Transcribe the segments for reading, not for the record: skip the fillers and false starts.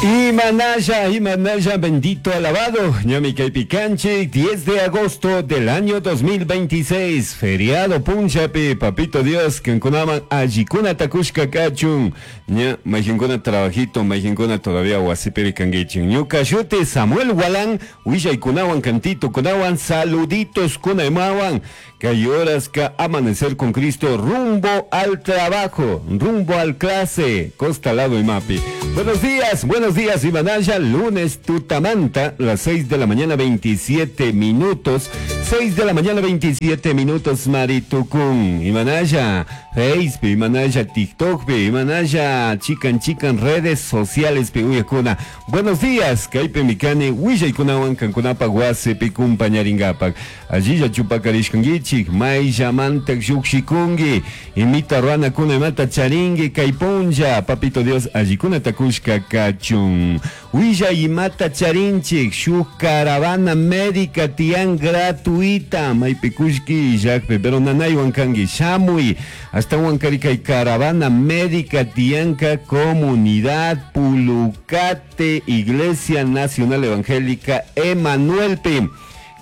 Imanaya, Imanaya, bendito alabado. Ñami kaypi kanchik, 10 de agosto del año 2026, feriado punchapi, papito Dios, kankunaman allikuna takushka kachun. Ña, mayqinkuna trabajito, mayqinkuna todavía wasipiri kankichik. Ñuka shuti Samuel Gualán, willaykunawan, cantitokunawan, saluditos kunaymawan. Kay horaska amanecer con Cristo rumbo al trabajo, rumbo al clase, costa lado imapi. Buenos días, Imanaya, lunes tutamanta, las 6 de la mañana 27 minutos, 6 de la mañana 27 minutos, Maritucún, Imanaya, Facebook, Imanaya, TikTok, Imanaya, chican chican redes sociales, uyakuna. Buenos días, kaypi mikani, willaykunawan kankunapak wasipi kumpañaringapak. Allilla chupakarishkankichik, mayshamantak llukshikunki, imita ruranakuna imata charinki, kay punlla, papito Dios, allikunata kushka kachun. Willa imata charinchik, shuk caravana médica tiyan gratuita, maypi kullki illakpi, pero nanaywan kanki, shamuy, ashtawan kari kay caravana médica tiyanka comunidad Pulucate, Iglesia Nacional Evangélica Emanuelpi.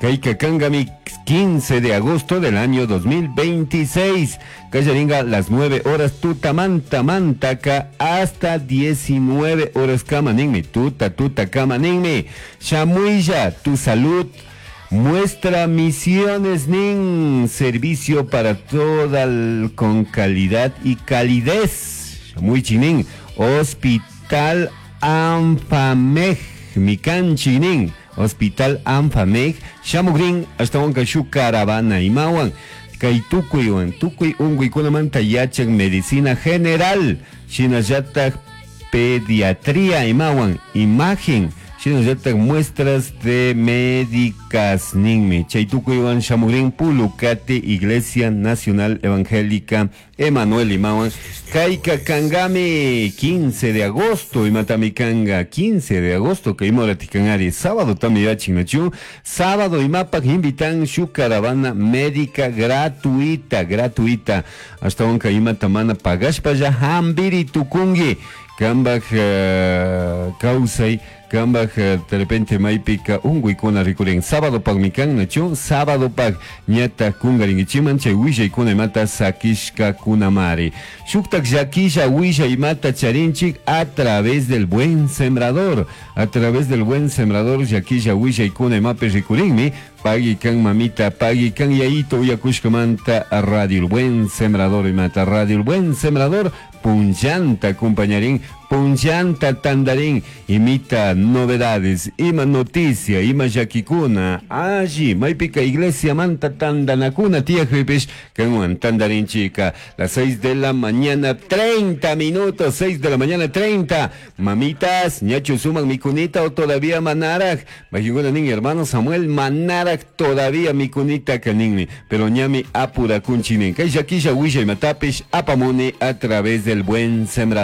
Kayka kangami 15 de agosto del año 2026. Kallaringa las 9 horas tutamanta mantaka hasta 19 horas kamaninmi. Tuta tuta kamaninmi. Shamuilla, tu salud. Muestra misiones nin servicio para toda el, con calidad y calidez. Muy chinin. Hospital Anfamej. Mikan chinin. Hospital Anfamej. Shamugrin ashtawanka shuk caravana imawan. Kay tukuywan tukuy unkuykunamanta yachan medicina general. Shinallatak pediatría imawan imagen. Shinallatak muestras de médicas ninmi. Chay tukuywan shamugrin Pulucate Iglesia Nacional Evangélica Emanuel imawan. Kayka kangami 15 de agosto imatami kanga 15 de agosto kay imoratikanari sábado tami yachin sábado imapak invitan shuk caravana médica gratuita, gratuita. Ashtawanka imata mana pagashpalla hambiri tukunki kambak kawsay kambak de repente maypika unkuykuna rikurin sábado pakmi kan nachu sábado pak ñata kungarinkichiman chay willaykuna imata sakishkakunamari shuktak llakilla willay imata charinchik a través del buen sembrador, a través del buen sembrador llakilla willaykuna imapi rikurinmi. Pagui kan mamita, pagui kan yayito uyakushkamanta radio el buen sembrador imata radio el buen sembrador punllanta compañarín, punllanta tandarín, imita novedades, ima noticia, ima llakikuna, allí, maypika iglesia manta tandanakuna, tía Jipish, kanwan tandarín chica, las 6 de la mañana, 30 minutos, 6 de la mañana, 30, mamitas, ñachu suman mikunita o todavía manaraj, mayunguna nin hermano Samuel manaraj todavía mikunita kaninmi, pero ñami apura kunchinin, kay llakilla willa imatapish apamuni a través del buen sembrador.